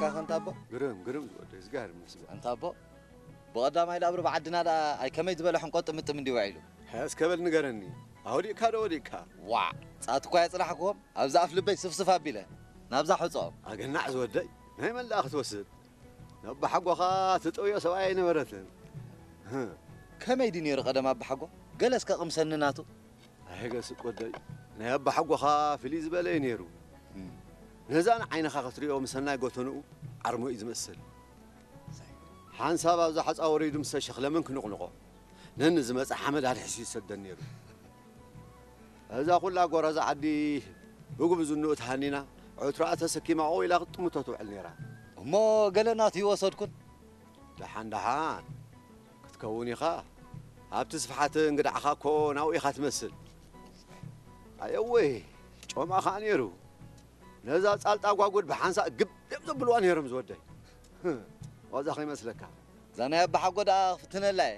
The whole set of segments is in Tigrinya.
ጸኒሕካ ከንታ ኣቦ? ግርም፣ ግርም ዝወደይ፣ ዝጋርም መስገን። ኣንታ ኣቦ፣ ብቐዳማይ ደኣ ብሩብ ዓድና ደኣ ኣይ ከመይ ዝበለ ሕንቆ ጥምጥም እንዲ ውዒሉ። ሕያስ ከበል ንገረኒ፣ ኣውዲቕካ ዶ ወዲቕካ? ዋዕ! ጻት እኳ የጽናሕክዎም፣ ኣብዛ ኣፍ ልበይ ስፍስፍ ኣቢለ፣ ናብዛ ሕጾኦም። ኣገናዕ ዝወደይ፣ ናይ መን ደኣ ክትወስድ? ነባሓጎኻ ትጠውዮ ሰብኣይ ኣይነበረትን። ከመይ ድዩ ነይሩ ቀደም ኣባሓጎ? ገለ እስከ ቅምሰኒ ናቱ። ኣይገስጥ ወደይ፣ ናይ ኣባሓጎኻ ፍልይ ዝበለ እዩ ነይሩ። ነዛ ንዓይንኻ ክትሪኦ ምሰናይ ጎተንኡ ዓርሞ እዩ ዝመስል። ሓንሳብ ኣብዛ ሓፃ ወሪዱ ምስ ተሸኽለመን ክንቕንቖ፣ ነኒ ዝመፀ ሓመድ ኣድሒሱ ይሰደን ነይሩ። እዛ ኩላ ጎራዛ ዓዲ ብጉብዝንኡ ተሃኒና፣ ዕትሮኣ ተሰኪማ ኦው ኢላ ክትጥምቶ ትውዕል ነይራ። እሞ ገለ ናቱ ይወሰድኩን? ደሓን ደሓን ክትከውን ኢኻ። ኣብቲ ስፍሓት እንግዳዕኻ እኮ ናብኡ ኢኻ ትመስል። ኣየወይ፣ ጮማ ኸኣ ነይሩ። ነዛ ጻልጣ ጓጉድ ብሓንሳእ ግብ እዮም ዘብልዋ ነይሮም ዝወደይ። ዋዛ ከይመስለካ። እዛ ናይ ኣባሓጎ ደኣ ክፍትነላ እየ።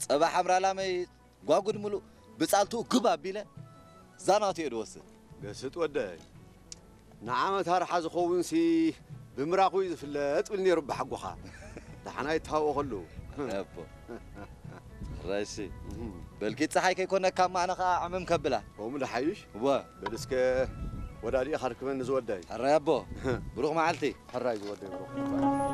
ጸባ ሓምራ ላመይ ጓጉድ ምሉእ ብጻልትኡ ግብ ኣቢለ እዛ ናቱ እየ ድወስድ። ገስጥ ወደይ። ንዓመት ኣርሓ ዝኸውንሲ ብምራኹ እዩ ዝፍለጥ ብል ነይሩ ኣባሓጎኻ። ደሓና ይተሃወኸሉ። ኣቦ። ሕራይሲ። እም። በልኪ ጸሓይ ከይኮነካ እማ ኣነ ኸኣ ዕምም ከብላ። ከምኡ ደሓይሽ? እወ። በል እስከ ወዳዲእኻ ርክበኒ ዝወደይ። ሕራይ ኣቦ። ብሩኽ መዓልቲ። ሕራይ ዝወደይ ብሩኽ።